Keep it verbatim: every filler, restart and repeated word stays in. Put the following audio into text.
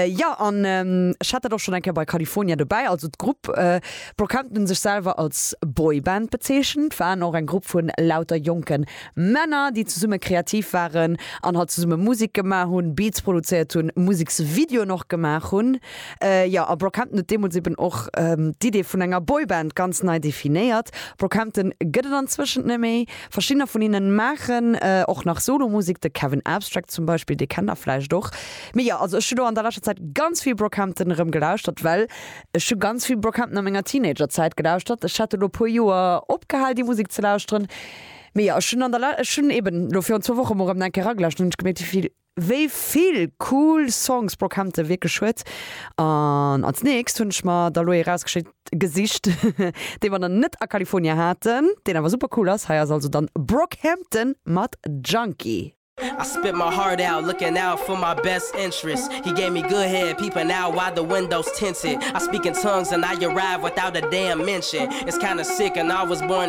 Jo, an ech hat dat och schonn eng Kéier bei California dobäi, also d'Grupp Brockhampton hunn sech selwer als Boyband bezeechent, waren och eng Grupp vun lauter jonke Männer, déi zesumme kreativ waren an halt zesumme Musek gemaach hunn, Beats produzéiert hunn, Museksvideoen och gemaach hunn. Jo, a Brockhampton huet deemools eben och d'Idee vun enger Boyband ganz nei definéiert. Brockhampton gëtt et anzwëschent net méi. Verschiddener vun hinnen maachen och nach Solo-Musek, de Kevin Abstract zum Beispill, dee kennt der vläicht och. Mee jo, also ech hu lo an der leschter Zäit ganz vill Brockhampton erëm gelauschtert, well ech hu ganz vill Brockhampton a menger Teenager-Zäit gelauschtert. Ech hat elo e puer Joer opgehal déi Musek ze lauschteren, mee jo, ech hunn an der ech hunn eben lo virun zwou Woche mol erëm eng Kéier eragelauschtert an hunn ech gemierkt, wéi vill wéi vill cool Songs Brockhampton wierklech huet. An als nächst hunn ech mer da lo ee rausgeschéckt gesicht, dee mer nach net a California haten, deen awer super cool ass. Hei ass also dann Brockhampton mat Junkie. I spit my heart out, looking out for my best interest. He gave me good head, peeping out while the windows tinted. I speak in tongues and I arrive without a damn mention. It's kinda sick and I was born